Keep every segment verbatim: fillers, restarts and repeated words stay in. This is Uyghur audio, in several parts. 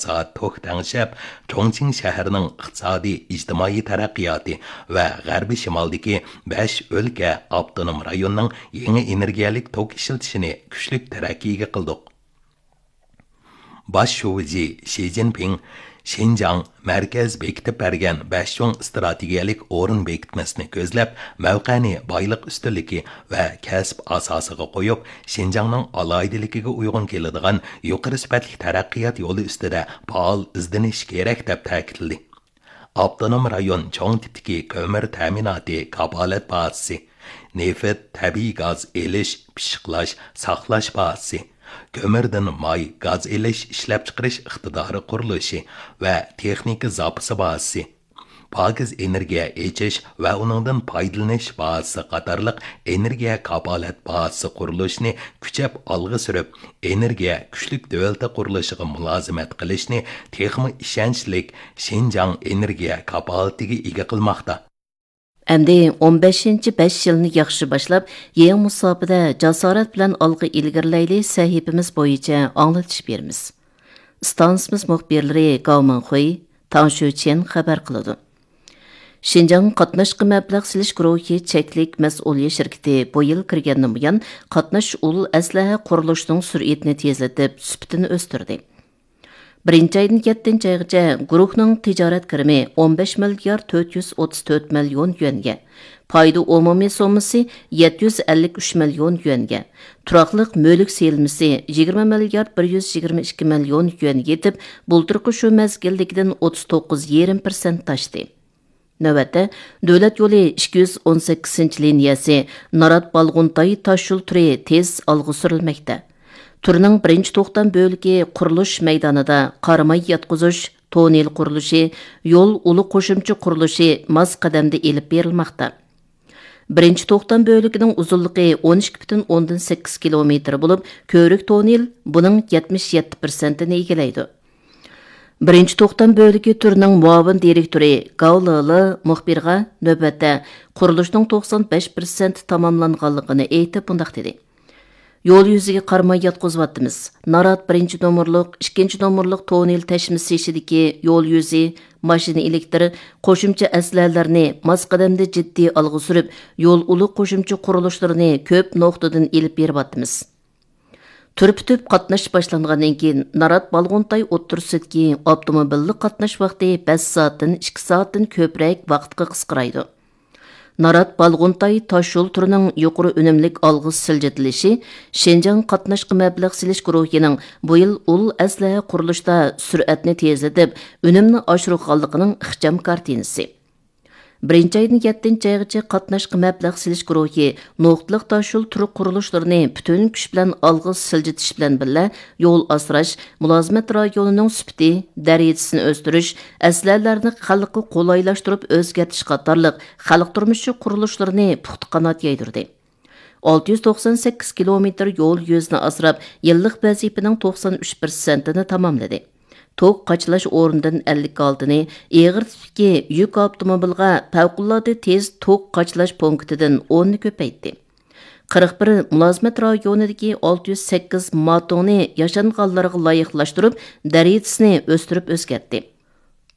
سائەت توك تەڭشەپ، چۇڭچىڭ شەھىرىنىڭ ئىقتىسادىي، ئىجتىمائىي تەرەققىياتى ۋە غەربىي شىمالدىكى بەش ئۆلكە ئاپتونوم رايوننىڭ يېڭى ئېنېرگىيەلىك توك ئىشلىتىشىنى كۈچلۈك تەرەققىيگە قىلدۇق. باش شۇجى شى جىنپىڭ شىنجاڭ مەركەز بېكىتىپ بەرگەن بەش چوڭ ئىستراتېگىيەلىك ئورۇن بېكىتمىسىنى كۆزلەپ، مەۋقەنى بايلىق ئۈستۈنلۈكى ۋە كەسىپ ئاساسىغا قويۇپ، شىنجاڭنىڭ ئالاھىدىلىكىگە ئۇيغۇن كېلىدىغان يۇقىرى سۈپەتلىك تەرەققىيات يولى ئۈستىدە پائال ئىزدىنىش كېرەك، دەپ تەكىتلىدى. ئاپتونوم رايون چوڭ تىپتىكى كۆمۈر تەمىناتى كاپالەت بازىسى، نېفىت، تەبىئىي گاز ئېلىش، پىششىقلاش، ساقلاش بازىسى، كۆمۈردىن ماي، گاز ئېلىش، ئىشلەپچىقىرىش ئىقتىدارى قۇرۇلۇشى ۋە تېخنىكا زاپىسى بازىسى، پاكىز ئېنېرگىيە ئېچىش ۋە ئۇنىڭدىن پايدىلىنىش بازىسى قاتارلىق ئېنېرگىيە كاپالەت بازىسى قۇرۇلۇشىنى كۈچەپ ئالغا سۈرۈپ، ئېنېرگىيە كۈچلۈك دۆلىتى قۇرۇلۇشىغا مۇلازىمەت قىلىشنى تېخىمۇ ئىشەنچلىك شىنجاڭ ئېنېرگىيە كاپالىتىگە ئىگە قىلماقتا. ئەمدى ئون بەشىنچى بەش يىلنى ياخشى باشلاپ، يېڭى مۇساپىدە جاسارەت بىلەن ئالغا ئىلگىرىلەيلى سەھىپىمىز بويىچە ئاڭلىتىش بېرىمىز. ئىستانسىمىز مۇخبىرلىرى گاۋ مىڭخۇي، تاڭ شۈچيەن خەۋەر قىلىدۇ. شىنجاڭ قاتناشقا مەبلەغ سېلىش گۇرۇھى چەكلىك مەسئۇلىيەت شىركىتى بۇ يىل كىرگەندىن بۇيان، قاتناش ئۇل ئەسلىھە قۇرۇلۇشىنىڭ سۈرئىتىنى تېزلىتىپ، سۈپىتىنى ئۆستۈردى. بىرىنچى ئايدىن يەتتىنچى ئايغىچە گۇرۇھنىڭ تىجارەت كىرىمى ئون بەش مىليارد تۆت يۈز ئوتتۇز تۆت مىليون يۈەنگە، پايدا ئومۇمىي سوممىسى يەتتە يۈز ئەللىك ئۈچ مىليون يۈەنگە، تۇراقلىق مۈلۈك سېلىنمىسى يىگىرمە مىليارد بىر يۈز يىگىرمە ئىككى مىليون يۈەنگە يېتىپ، بۇلتۇرقى شۇ مەزگىلدىكىدىن ئوتتۇز توققۇز يېرىم پىرسەنت ئاشتى. نۆۋەتتە، دۆلەت يولى ئىككى يۈز ئون سەككىزىنچى لىنىيەسى نارات بالغۇنتاي تاشيول تۈرى تېز ئالغا سۈرۈلمەكتە. تۈرنىڭ بىرىنچى توختام بۆلىكى قۇرۇلۇش مەيدانىدا قاراماي ياتقۇزۇش، توننېل قۇرۇلۇشى، يول ئۇلى قوشۇمچە قۇرۇلۇشى ماس قەدەمدە ئېلىپ بېرىلماقتا. بىرىنچى توختام بۆلىكىنىڭ ئۇزۇنلۇقى ئون ئىككى پۈتۈن ئوندىن سەككىز كىلومېتىر بولۇپ، كۆۋرۈك توننېل بۇنىڭ يەتمىش يەتتە پىرسەنتىنى ئىگىلەيدۇ. بىرىنچى توختام بۆلىكى تۈرىنىڭ مۇئاۋىن دىرېكتورى گاۋ لېلې مۇخبىرغا نۆۋەتتە قۇرۇلۇشنىڭ توقسان بەش پىرسەنت تاماملانغانلىقىنى ئېيتىپ، مۇنداق دېدى: يول يۈزىگە قارىماي ياتقۇزۇۋاتىمىز. نارات بىرىنچى نومۇرلۇق، ئىككىنچى نومۇرلۇق توننېل تەشمىسى ئىچىدىكى يول يۈزى، ماشىنا ئېلېكتىر، قوشۇمچە ئەسلىھەلەرنى ماس قەدەمدە جىددىي ئالغا سۈرۈپ، يول ئۇلى قوشۇمچە قۇرۇلۇشلىرىنى كۆپ نۇقتىدىن ئېلىپ بېرىۋاتىمىز. تۈر پۈتۈپ قاتناش باشلانغاندىن كېيىن، نارات بالغۇنتاي ئوتتۇرىسىدىكى ئاپتوموبىللىق قاتناش ۋاقتى بەش سائەتتىن ئىككى سائەتتىن كۆپرەك ۋاقىتقا قىسقىرايدۇ. نارات بالغۇنتاي تاشيول تۈرىنىڭ يۇقىرى ئۈنۈملۈك ئالغا سىلجىتىلىشى شىنجاڭ قاتناشقا مەبلەغ سېلىش گۇرۇھىنىڭ بۇ يىل ئۇل ئەسلىھە قۇرۇلۇشتا سۈرئەتنى تېزلىتىپ، ئۈنۈمنى ئاشۇرغانلىقىنىڭ ئىخچام كارتىنىسى. بىرىنچى ئايدىن يەتتىنچى ئايغىچە قاتناشقا مەبلەغ سېلىش گۇرۇھى نۇقتىلىق تاشيول تۈر قۇرۇلۇشلىرىنى پۈتۈن كۈچ بىلەن ئالغا سىلجىتىش بىلەن بىللە، يول ئاسراش، مۇلازىمەت رايونىنىڭ سۈپىتى، دەرىجىسىنى ئۆستۈرۈش، ئەسلىھەلەرنى خەلققە قولايلاشتۇرۇپ ئۆزگەرتىش قاتارلىق خەلق تۇرمۇشى قۇرۇلۇشلىرىنى پۇختا قانات يايدۇردى. ئالتە يۈز توقسان سەككىز كىلومېتىر يول يۈزىنى ئاسراپ، يىللىق ۋەزىپىنىڭ توقسان ئۈچ پىرسەنتىنى تاماملىدى. توك قاچىلاش ئورنىدىن ئەللىك ئالتىنى، ئېغىر تىپتىكى يۈك ئاپتوموبىلغا پەۋقۇلئاددە تېز توك قاچىلاش پونكىتىدىن ئوننى كۆپەيتتى. قىرىق بىر مۇلازىمەت رايونىدىكى ئالتە يۈز سەككىز ماتوڭنى ياشانغانلارغا لايىقلاشتۇرۇپ، دەرىجىسىنى ئۆستۈرۈپ ئۆزگەرتتى.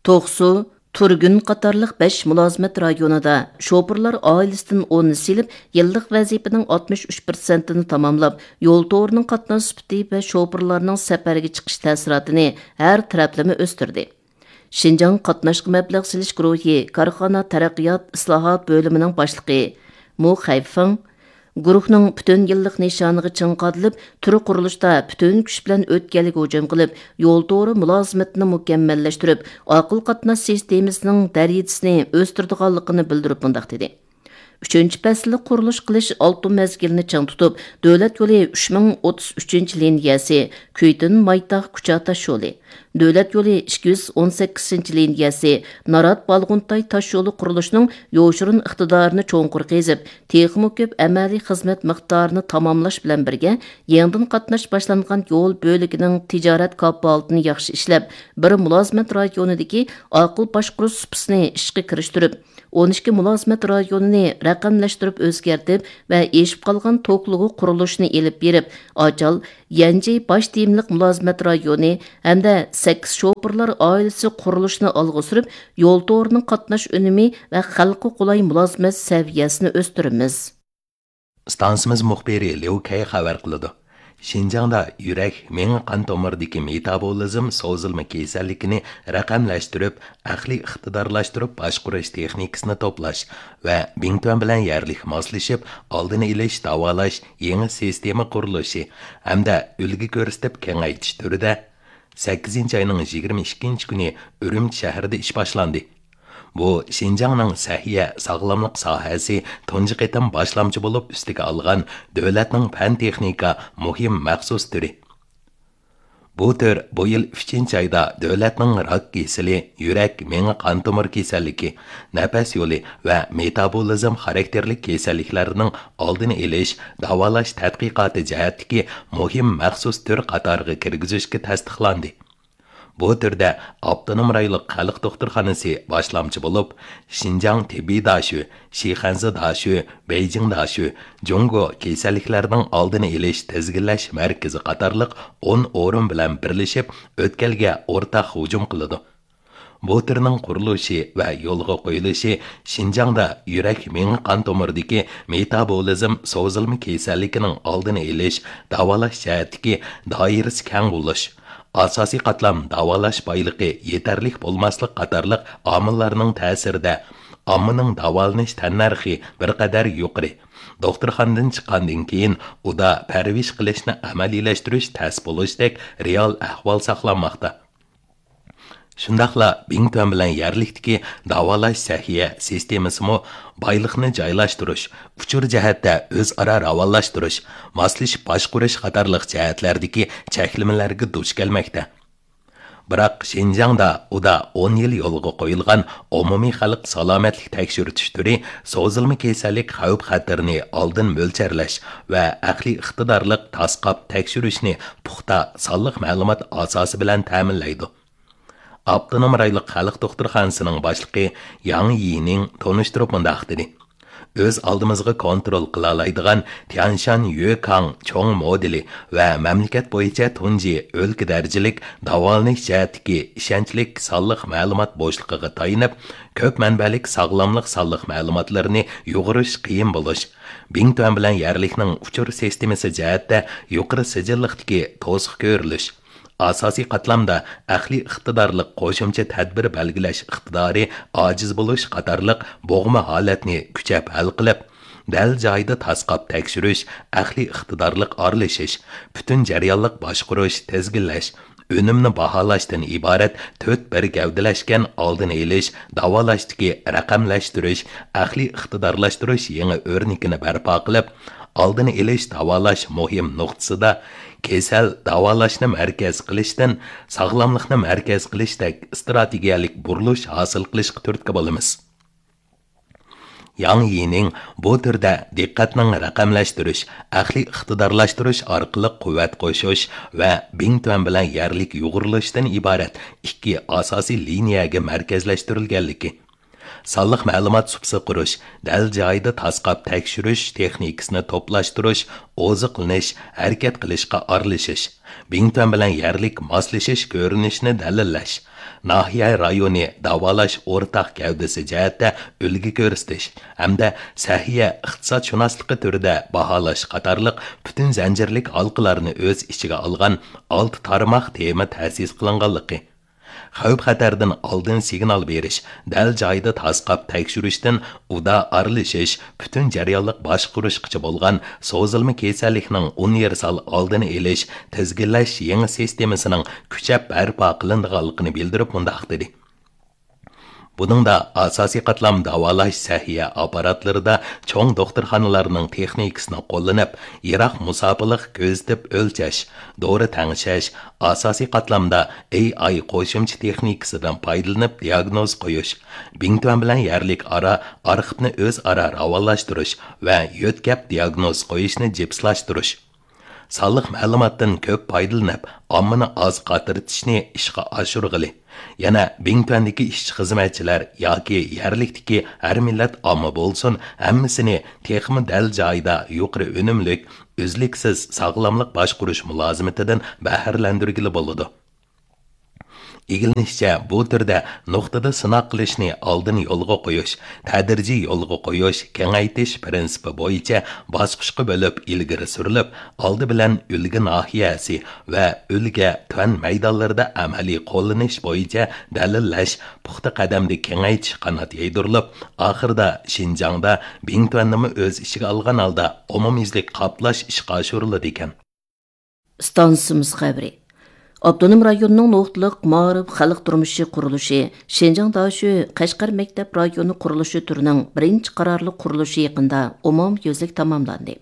توقسۇ، تۇرگۈن قاتارلىق بەش مۇلازىمەت رايونىدا شوپۇرلار ئائىلىسىدىن ئوننى سېلىپ، يىللىق ۋەزىپىنىڭ ئاتمىش ئۈچ پىرسەنتىنى تاماملاپ، يول تورىنىڭ قاتناش سۈپىتى ۋە شوپۇرلارنىڭ سەپەرگە چىقىش تەسىراتىنى ھەر تەرەپلىمە ئۆستۈردى. شىنجاڭ قاتناشقا مەبلەغ سېلىش گۇرۇھى كارخانا تەرەققىيات ئىسلاھات بۆلۈمىنىڭ باشلىقى مۇ خەيفېڭ، گۇرۇھنىڭ پۈتۈن يىللىق نىشانىغا چىڭ قادىلىپ، تۈر قۇرۇلۇشتا پۈتۈن كۈچ بىلەن ئۆتكەلگە ھۇجۇم قىلىپ، يول تورى مۇلازىمىتىنى مۇكەممەللەشتۈرۈپ، ئاقىل قاتناش سىستېمىسىنىڭ دەرىجىسىنى ئۆستۈرىدىغانلىقىنى بىلدۈرۈپ مۇنداق دېدى: ئۈچىنچى پەسىللىك قۇرۇلۇش قىلىش ئالتۇن مەزگىلىنى چىڭ تۇتۇپ، دۆلەت يولى ئۈچ مىڭ ئوتتۇز ئۈچىنچى لىنىيەسى، كۈيتۈن مايتاغ كۇچا تاشيولى، دۆلەت يولى ئىككى يۈز ئون سەككىزىنچى لىنىيەسى، نارات بالغۇنتاي تاشيولى قۇرۇلۇشىنىڭ يوشۇرۇن ئىقتىدارىنى چوڭقۇر قېزىپ، تېخىمۇ كۆپ ئەمەلىي خىزمەت مىقدارىنى تاماملاش بىلەن بىرگە، يېڭىدىن قاتناش باشلانغان يول بۆلىكىنىڭ تىجارەت كاپالىتىنى ياخشى ئىشلەپ، بىر مۇلازىمەت رايونىدىكى ئاقىل باشقۇرۇش سۇپىسىنى ئىشقا كىرىشتۈرۈپ، ئون ئىككى مۇلازىمەت رايونىنى رەقەملەشتۈرۈپ ئۆزگەرتىپ ۋە ئېشىپ قالغان توكلۇغۇ قۇرۇلۇشىنى ئېلىپ بېرىپ، ئاچال، يەنجى باش تېمىلىق مۇلازىمەت رايونى ھەمدە سەككىز شوپۇرلار ئائىلىسى قۇرۇلۇشىنى ئالغا سۈرۈپ، يول تورىنىڭ قاتناش ئۈنۈمى ۋە خەلققە قولاي مۇلازىمەت سەۋىيەسىنى ئۆستۈرىمىز. ئىستانسىمىز مۇخبىرى ليۇ كەي خەۋەر قىلىدۇ. شىنجاڭدا يۈرەك، مېڭە قان تومۇرىدىكى مېتابولىزم سوزۇلما كېسەللىكىنى رەقەملەشتۈرۈپ، ئەقلىي ئىقتىدارلاشتۇرۇپ باشقۇرۇش تېخنىكىسىنى توپلاش ۋە بىڭتۈەن بىلەن يەرلىك ماسلىشىپ ئالدىنى ئېلىش، داۋالاش يېڭى سىستېما قۇرۇلۇشى ھەمدە ئۈلگە كۆرسىتىپ كېڭەيتىش تۈرىدە سەككىزىنچى ئاينىڭ يىگىرمە ئىككىنچى كۈنى ئۈرۈمچى شەھىرىدە ئىش باشلاندى. بۇ شىنجاڭنىڭ سەھىيە، ساغلاملىق ساھەسى تۇنجى قېتىم باشلامچى بولۇپ ئۈستىگە ئالغان دۆلەتنىڭ پەن-تېخنىكا مۇھىم مەخسۇس تۈرى. بۇ تۈر بۇ يىل ئۈچىنچى ئايدا دۆلەتنىڭ راك كېسىلى، يۈرەك، مېڭە قان تومۇر كېسەللىكى، نەپەس يولى ۋە مېتابولىزم خاراكتېرلىك كېسەللىكلەرنىڭ ئالدىنى ئېلىش، داۋالاش تەتقىقاتى جەھەتتىكى مۇھىم مەخسۇس تۈر قاتارىغا كىرگۈزۈشكە تەستىقلاندى. بۇ تۈردە ئاپتونوم رايونلۇق خەلق دوختۇرخانىسى باشلامچى بولۇپ، شىنجاڭ تېببىي داشۆ، شىخەنزە داشۆ، بېيجىڭ داشۆ، جۇڭگو كېسەللىكلەرنىڭ ئالدىنى ئېلىش تىزگىنلەش مەركىزى قاتارلىق ئون ئورۇن بىلەن بىرلىشىپ، ئۆتكەلگە ئورتاق ھۇجۇم قىلىدۇ. بۇ تۈرنىڭ قۇرۇلۇشى ۋە يولغا قويۇلۇشى شىنجاڭدا يۈرەك، مېڭە قان تومۇرىدىكى مېتابولىزم سوزۇلما كېسەللىكىنىڭ ئالدىنى ئېلىش، داۋالاش جەھەتتىكى دائىرىسى كەڭ بولۇش، ئاساسىي قاتلام داۋالاش بايلىقى يېتەرلىك بولماسلىق قاتارلىق ئامىللارنىڭ تەسىرىدە ئاممىنىڭ داۋالىنىش تەننەرخى بىر قەدەر يۇقىرى. دوختۇرخانىدىن چىققاندىن كېيىن ئۇدا پەرۋىش قىلىشنى ئەمەلىيلەشتۈرۈش تەس بولۇشتەك رېئال ئەھۋال ساقلانماقتا. شۇنداقلا بىڭتۈەن بىلەن يەرلىكتىكى داۋالاش سەھىيە سىستېمىسىمۇ بايلىقنى جايلاشتۇرۇش، ئۇچۇر جەھەتتە ئۆزئارا راۋانلاشتۇرۇش، ماسلىشىپ باشقۇرۇش قاتارلىق جەھەتلەردىكى چەكلىمىلەرگە دۇچ كەلمەكتە. بىراق شىنجاڭدا ئۇدا ئون يىل يولغا قويۇلغان ئومۇمىي خەلق سالامەتلىك تەكشۈرتۈش تۈرى سوزۇلما كېسەللىك خەۋپ خەتىرىنى ئالدىن مۆلچەرلەش ۋە ئەقلىي ئىقتىدارلىق تاسقاپ تەكشۈرۈشنى پۇختا سانلىق مەلۇمات ئاساسى بىلەن تەمىنلەيدۇ. ئاپتونوم رايونلۇق خەلق دوختۇرخانىسىنىڭ باشلىقى ياڭ يىنىڭ تونۇشتۇرۇپ مۇنداق دېدى: ئۆز ئالدىمىزغا كونترول قىلالايدىغان تيەنشان يۆكاڭ چوڭ مودېلى ۋە مەملىكەت بويىچە تۇنجى ئۆلكە دەرىجىلىك داۋالىنىش جەھەتتىكى ئىشەنچلىك سانلىق مەلۇمات بوشلۇقىغا تايىنىپ، كۆپ مەنبەلىك ساغلاملىق سانلىق مەلۇماتلىرىنى يۇغۇرۇش قىيىن بولۇش، بىڭتۈەن بىلەن يەرلىكنىڭ ئۇچۇر سىستېمىسى جەھەتتە يۇقىرى سىجىللىقتىكى توسۇق كۆرۈلۈش، ئاساسىي قاتلامدا ئەقلىي ئىقتىدارلىق قوشۇمچە تەدبىر بەلگىلەش ئىقتىدارى ئاجىز بولۇش قاتارلىق بوغما ھالەتنى كۈچەپ ھەل قىلىپ، دەل جايىدا تاسقاپ تەكشۈرۈش، ئەقلىي ئىقتىدارلىق ئارىلىشىش، پۈتۈن جەريانلىق باشقۇرۇش، تىزگىنلەش، ئۈنۈمنى باھالاشتىن ئىبارەت تۆت بىر گەۋدىلەشكەن ئالدىنى ئېلىش، داۋالاشتىكى رەقەملەشتۈرۈش، ئەقلىي ئىقتىدارلاشتۇرۇش يېڭى ئۆرنىكىنى بەرپا قىلىپ، ئالدىنى ئېلىش، داۋالاش مۇھىم نۇقتىسىدا كېسەل داۋالاشنى مەركەز قىلىشتىن ساغلاملىقنى مەركەز قىلىشتەك ئىستراتېگىيەلىك بۇرۇلۇش ھاسىل قىلىشقا تۈرتكە بولىمىز. ياڭ يىنىڭ بۇ تۈردە دىققەتنىڭ رەقەملەشتۈرۈش، ئەقلىي ئىقتىدارلاشتۇرۇش ئارقىلىق قۇۋۋەت قوشۇش ۋە بىڭتۈەن بىلەن يەرلىك يۇغۇرۇلۇشتىن ئىبارەت ئىككى ئاساسىي لىنىيەگە مەركەزلەشتۈرۈلگەنلىكى، سانلىق مەلۇمات سۇپىسى قۇرۇش، دەل جايىدا تاسقاپ تەكشۈرۈش تېخنىكىسىنى توپلاشتۇرۇش، ئوزۇقلىنىش، ھەرىكەت قىلىشقا ئارىلىشىش، بىڭتۈەن بىلەن يەرلىك ماسلىشىش كۆرۈنۈشىنى دەلىللەش، ناھىيە رايونى داۋالاش ئورتاق گەۋدىسى جەھەتتە ئۈلگە كۆرسىتىش ھەمدە سەھىيە ئىقتىسادشۇناسلىقى تۈرىدە باھالاش قاتارلىق پۈتۈن زەنجىرلىك ھالقىلارنى ئۆز ئىچىگە ئالغان ئالتە تارماق تېما تەسىس قىلىنغانلىقى، خەۋپ خەتەردىن ئالدىن سىگنال بېرىش، دەل جايىدا تاسقاپ تەكشۈرۈشتىن ئۇدا ئارىلىشىش، پۈتۈن جەريانلىق باشقۇرۇشقىچە بولغان سوزۇلما كېسەللىكنىڭ ئۇنىۋېرسال ئالدىنى ئېلىش، تىزگىنلەش يېڭى سىستېمىسىنىڭ كۈچەپ بەرپا قىلىنىدىغانلىقىنى بىلدۈرۈپ مۇنداق دېدى: بۇنىڭدا ئاساسىي قاتلام داۋالاش سەھىيە ئاپپاراتلىرىدا چوڭ دوختۇرخانىلارنىڭ تېخنىكىسىنى قوللىنىپ، يىراق مۇساپىلىق كۆزىتىپ ئۆلچەش، دورا تەڭشەش، ئاساسىي قاتلامدا ئېي ئاي قوشۇمچە تېخنىكىسىدىن پايدىلىنىپ دىياگنوز قويۇش، بىڭتۈەن بىلەن يەرلىك ئارا ئارخىپنى ئۆزئارا راۋانلاشتۇرۇش ۋە يۆتكەپ دىياگنوز قويۇشنى جىپسلاشتۇرۇش، سانلىق مەلۇماتتىن كۆپ پايدىلىنىپ، ئاممىنى ئاز قاترىتىشنى ئىشقا ئاشۇرغىلى. يەنە بىڭتۈەندىكى ئىشچى-خىزمەتچىلەر ياكى يەرلىكتىكى ھەر مىللەت ئامما بولسۇن، ھەممىسىنى تېخىمۇ دەل جايىدا يۇقىرى ئۈنۈملۈك، ئۈزلۈكسىز ساغلاملىق باشقۇرۇش مۇلازىمىتىدىن بەھرىلەندۈرگىلى بولىدۇ. ئىگىلىنىشىچە، بۇ تۈردە نۇقتىدا سىناق قىلىشنى ئالدىن يولغا قويۇش، تەدرىجىي يولغا قويۇش، كېڭەيتىش پىرىنسىپى بويىچە باسقۇچقا بۆلۈپ ئىلگىرى سۈرۈلۈپ، ئالدى بىلەن ئۈلگە ناھىيەسى ۋە ئۈلگە تۈەن مەيدانلىرىدا ئەمەلىي قوللىنىش بويىچە دەلىللەش پۇختا قەدەمدە كېڭەيتىش قانات يايدۇرۇلۇپ، ئاخىرىدا شىنجاڭدا بىڭتۈەننىمۇ ئۆز ئىچىگە ئالغان ھالدا ئومۇميۈزلۈك قاپلاش ئىشقا ئاشۇرۇلىدىكەن. ئىستانسىمىز خەۋىرى. ئاپتونوم رايوننىڭ نۇقتىلىق مائارىپ خەلق تۇرمۇشى قۇرۇلۇشى شىنجاڭ داشۆ قەشقەر مەكتەپ رايونى قۇرۇلۇشى تۈرىنىڭ بىرىنچى قارارلىق قۇرۇلۇشى يېقىندا ئومۇميۈزلۈك تاماملاندى.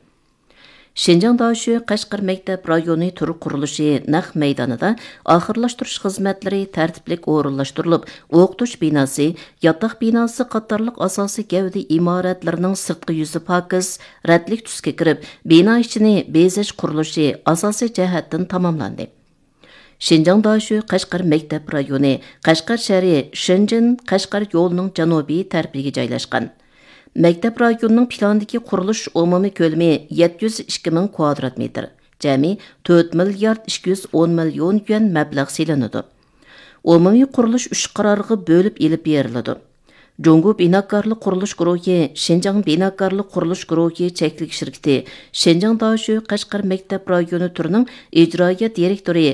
شىنجاڭ داشۆ قەشقەر مەكتەپ رايونى تۈر قۇرۇلۇشى نەق مەيدانىدا ئاخىرلاشتۇرۇش خىزمەتلىرى تەرتىپلىك ئورۇنلاشتۇرۇلۇپ، ئوقۇتۇش بىناسى، ياتاق بىناسى قاتارلىق ئاساسىي گەۋدە ئىمارەتلىرىنىڭ سىرتقى يۈزى پاكىز، رەتلىك تۈسكە كىرىپ، بىنا ئىچىنى بېزەش قۇرۇلۇشى ئاساسىي جەھەتتىن تاماملاندى. شىنجاڭ داشۆ قەشقەر مەكتەپ رايونى قەشقەر شەھىرى شېنجېن قەشقەر يولىنىڭ جەنۇبىي تەرىپىگە جايلاشقان. مەكتەپ رايونىنىڭ پىلاندىكى قۇرۇلۇش ئومۇمىي كۆلىمى يەتتە يۈز ئىككى مىڭ كۋادرات مېتىر، جەمئىي تۆت مىليارد ئىككى يۈز ئون مىليون يۈەن مەبلەغ سېلىنىدۇ. ئومۇمىي قۇرۇلۇش ئۈچ قارارغا بۆلۈپ ئېلىپ بېرىلىدۇ. جۇڭگو بىناكارلىق قۇرۇلۇش گۇرۇھى، شىنجاڭ بىناكارلىق قۇرۇلۇش گۇرۇھى چەكلىك شىركىتى، شىنجاڭ داشۆ قەشقەر مەكتەپ رايونى تۈرىنىڭ ئىجرائىيە دىرېكتورى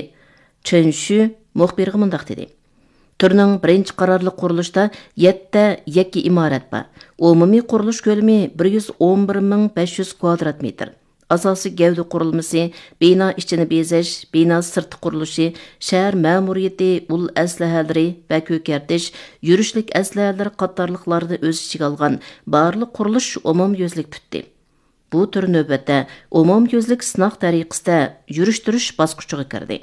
چېن شۈ مۇخبىرغا مۇنداق دېدى: تۈرنىڭ بىرىنچى قارارلىق قۇرۇلۇشىدا يەتتە يەككە ئىمارەت بار. ئومۇمىي قۇرۇلۇش كۆلىمى بىر يۈز ئون بىر مىڭ بەش يۈز كۋادرات مېتىر. ئاساسىي گەۋدە قۇرۇلمىسى، بىنا ئىچىنى بېزەش، بىنا سىرتى قۇرۇلۇشى، شەھەر مەمۇرىيىتى، ئۇل ئەسلىھەلىرى ۋە كۆكەرتىش، يۈرۈشلۈك ئەسلىھەلەر قاتارلىقلارنى ئۆز ئىچىگە ئالغان بارلىق قۇرۇلۇش ئومۇميۈزلۈك پۈتتى. بۇ تۈر نۆۋەتتە ئومۇميۈزلۈك سىناق تەرىقىسىدە يۈرۈشتۈرۈش باسقۇچىغا كىردى.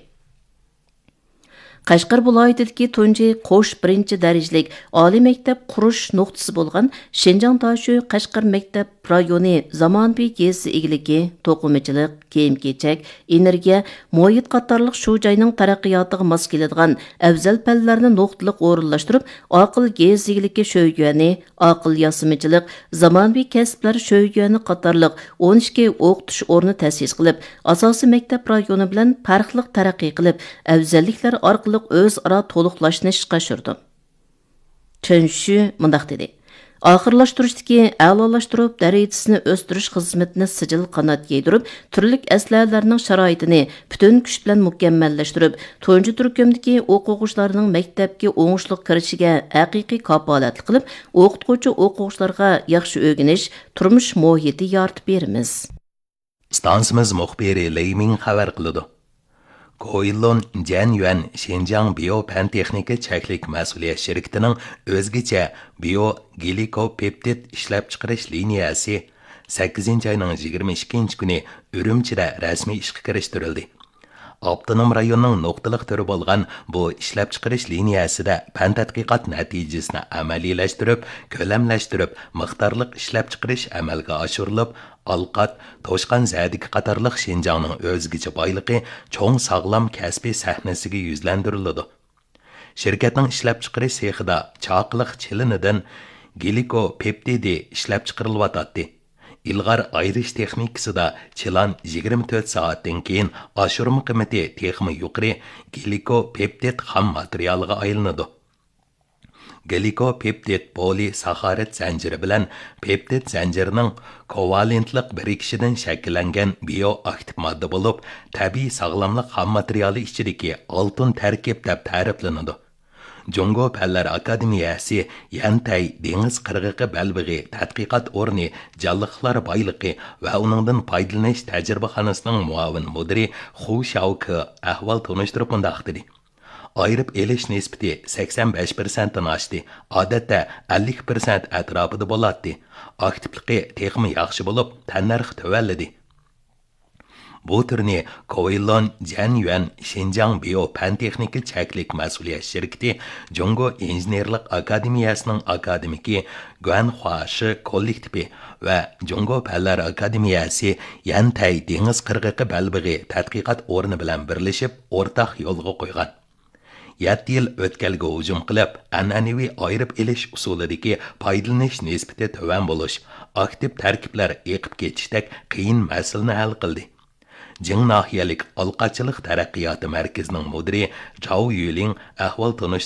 قەشقەر ۋىلايىتىدىكى تۇنجى قوش بىرىنچى دەرىجىلىك ئالىي مەكتەپ قۇرۇش نۇقتىسى بولغان شىنجاڭ داشۆ قەشقەر مەكتەپ رايونى زامانىۋى يېزا ئىگىلىكى، توقۇمىچىلىق، كىيىم-كېچەك، ئېنېرگىيە، مۇھىت قاتارلىق شۇ جاينىڭ تەرەققىياتىغا ماس كېلىدىغان ئەۋزەل پەنلەرنى نۇقتىلىق ئورۇنلاشتۇرۇپ، ئاقىل يېزا ئىگىلىكى شۆيۈەنى، ئاقىل ياسىمىچىلىق، زامانىۋى كەسىپلەر شۆيۈەنى قاتارلىق ئون ئىككى ئوقۇتۇش ئورنى تەسىس قىلىپ، ئاساسىي مەكتەپ رايونى بىلەن پەرقلىق تەرەققىي قىلىپ، ئەۋزەللىكلەر ئارقىلىق ئۆزئارا تولۇقلاشنى ئىشقا ئاشۇرىدۇ. چېن شۈ مۇنداق دېدى: ئاخىرلاشتۇرۇشتىكى ئەلالاشتۇرۇپ دەرىجىسىنى ئۆستۈرۈش خىزمىتىنى سىجىل قانات يايدۇرۇپ، تۈرلۈك ئەسلىھەلەرنىڭ شارائىتىنى پۈتۈن كۈچ بىلەن مۇكەممەللەشتۈرۈپ، تۇنجى تۈركۈمدىكى ئوقۇغۇچىلارنىڭ مەكتەپكە ئوڭۇشلۇق كىرىشىگە ھەقىقىي كاپالەتلىك قىلىپ، ئوقۇتقۇچى ئوقۇغۇچىلارغا ياخشى ئۆگىنىش، تۇرمۇش مۇھىتى يارىتىپ بېرىمىز. ئىستانسىمىز مۇخبىرى لېي مىڭ خەۋەر قىلىدۇ. كوئىلون جەن يۈەن شىنجاڭ بىيو پەن تېخنىكا چەكلىك مەسئۇلىيەت شىركىتىنىڭ ئۆزگىچە بىيو گلىكوپېپتىد ئىشلەپچىقىرىش لىنىيەسى سەككىزىنچى ئاينىڭ يىگىرمە ئىككىنچى كۈنى ئۈرۈمچىدە رەسمىي ئىشقا كىرىشتۈرۈلدى. ئاپتونوم رايوننىڭ نۇقتىلىق تۈرى بولغان بۇ ئىشلەپچىقىرىش لىنىيەسىدە پەن تەتقىقات نەتىجىسىنى ئەمەلىيلەشتۈرۈپ، كۆلەملەشتۈرۈپ، مىقدارلىق ئىشلەپچىقىرىش ئەمەلگە ئاشۇرۇلۇپ، ئالقات، توشقان زەدىكى قاتارلىق شىنجاڭنىڭ ئۆزگىچە بايلىقى چوڭ ساغلام كەسپىي سەھنىسىگە يۈزلەندۈرۈلىدۇ. شىركەتنىڭ ئىشلەپچىقىرىش سېخىدا چاقىلىق چىلىنىدىن گلىكوپېپتىدى ئىشلەپچىقىرىلىۋاتاتتى. ئىلغار ئايرىش تېخنىكىسىدا چىلان يىگىرمە تۆت سائەتتىن كېيىن ئاشۇرما قىممىتى تېخىمۇ يۇقىرى گلىكوپېپتىد خام ماتېرىيالىغا ئايلىنىدۇ. گلىكوپېپتىد پولىساخارىد زەنجىرى بىلەن پېپتىد زەنجىرىنىڭ كوۋالېنتلىق بىرىكىشىدىن شەكىللەنگەن بىيو ئاكتىپ ماددا بولۇپ، تەبىئىي ساغلاملىق خام ماتېرىيالى ئىچىدىكى ئالتۇن تەركىب دەپ تەرىپلىنىدۇ. جۇڭگو پەنلەر ئاكادېمىيەسى يەنتەي دېڭىز قىرغىقى بەلبېغى تەتقىقات ئورنى جانلىقلار بايلىقى ۋە ئۇنىڭدىن پايدىلىنىش تەجرىبىخانىسىنىڭ مۇئاۋىن مۇدىرى خۇ شياۋكې ئەھۋال تونۇشتۇرۇپ مۇنداق دېدى: ئايرىپ ئېلىش نىسبىتى سەكسەن بەش پىرسەنتتىن ئاشتى، ئادەتتە ئەللىك پىرسەنت ئەتراپىدا بولاتتى. ئاكتىپلىقى تېخىمۇ ياخشى بولۇپ، تەننەرخى تۆۋەنلىدى. بۇ تۈرنى كوۋېيلون جەنيۈەن شىنجاڭ بىيو پەن تېخنىكا چەكلىك مەسئۇلىيەت شىركىتى جۇڭگو ئىنژېنېرلىق ئاكادېمىيەسىنىڭ ئاكادېمىكى گۇەن خۇاشى كوللېكتىپى ۋە جۇڭگو پەنلەر ئاكادېمىيەسى يەنتەي دېڭىز قىرغىقى بەلبېغى تەتقىقات ئورنى بىلەن بىرلىشىپ ئورتاق يولغا قويغان. يەتتە يىل ئۆتكەلگە ھۇجۇم قىلىپ، ئەنئەنىۋى ئايرىپ ئېلىش ئۇسۇلىدىكى پايدىلىنىش نىسبىتى تۆۋەن بولۇش، ئاكتىپ تەركىبلەر ئېقىپ كېتىشتەك قىيىن مەسىلىنى ھەل قىلدى. جىڭ ناھىيەلىك ئالقاچىلىق تەرەققىياتى مەركىزىنىڭ مۇدىرى جاۋ يۈلىڭ ئەھۋال تونۇشتۇرۇپ،